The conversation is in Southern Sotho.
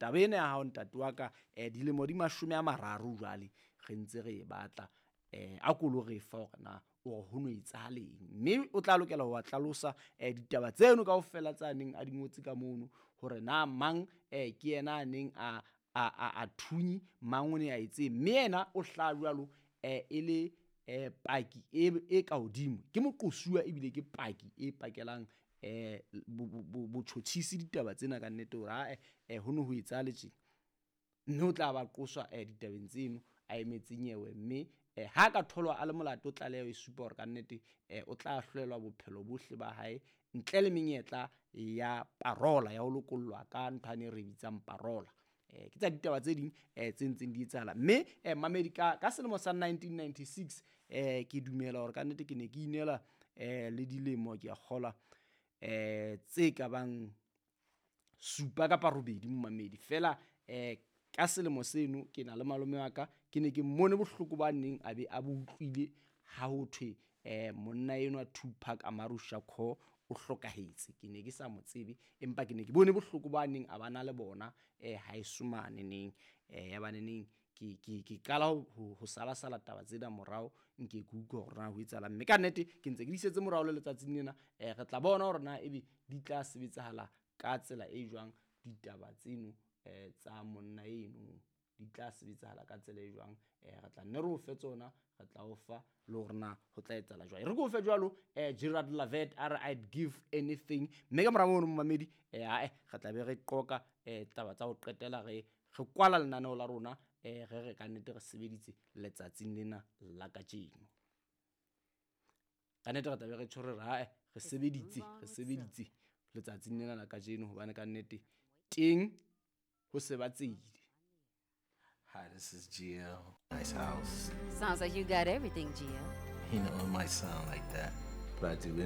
Taba ena ya hao ntate wa ka dilemo di 30 jwale re ntse re e batla, a ko lo re fa hore na o re ho no etsahaleng. Mme o tla lokela ho wa hlalosa ditaba tseno kaofela tsa neng a di ngotse ka mono, hore na mang ke yena a neng a thunye mang, o ne a etseng. Mme yena o hlaha jwalo e le paki e ka hodimo, ke moqosuwa ebile ke paki e pakelang botjhotjhisi ditaba tsena ka nnete hore ae ho no ho etsahale tjena. Mme o tla ba qoswa ditabeng tseno a emetse nyewe, mme ha ka tholwa a le molato, tlaleho e supa hore ka nnete o tla ahlolelwa bophelo bohle ba hae ntle le menyetla ya parola ya ho lokollwa ka ntho yane e re bitsang parola. Ke tsa ditaba tse ding tse ntseng di etsahala. Mme mamedi, ka selemo sa 1996 ke dumela hore ka nnete ke ne ke inela le dilemo ke a kgolwa tse ka bang 7 kapa 8 momamedi. Feela ka selemo seno ke na le malome wa ka, ke ne ke mmone bohloko ba neng a be a bo utlwile ha ho thwe monna enwa Tupac Amaru Shakur o hlokahetse. Ke ne ke sa mo tsebe, empa ke ne ke bone bohloko ba neng a ba na le bona haeso mane neng. Ya ba neneng ke qala ho sala-sala taba tsena morao, nke ke utlwe hore na ho etsahalang. Mme ka nnete ke ntse ke di setse morao le letsatsing lena, re tla bona hore na ebe di tla sebetsahala ka tsela e jwang ditaba tseno tsa monna eno, di tla sebetsahala ka tsela e jwang. Re tla nne re o fe tsona, re tla o fa le hore na ho tla etsahala jwang. E re ke o fe jwalo Gerard Lavet a re I'd give anything. Mme ka mora mono momamedi, ae re tla be re qoka taba tsa ho qetela, re kwala lenaneo la rona, re re ka nnete re sebeditse letsatsing lena la kajeno. Ka nnete re tla be re tjho re re ae re sebeditse letsatsing lena la kajeno, hobane ka nnete teng ho se ba tsehile. Hi, this is Gio. Nice house. Sounds like you got everything, Gio. You know, it might sound like that, but I do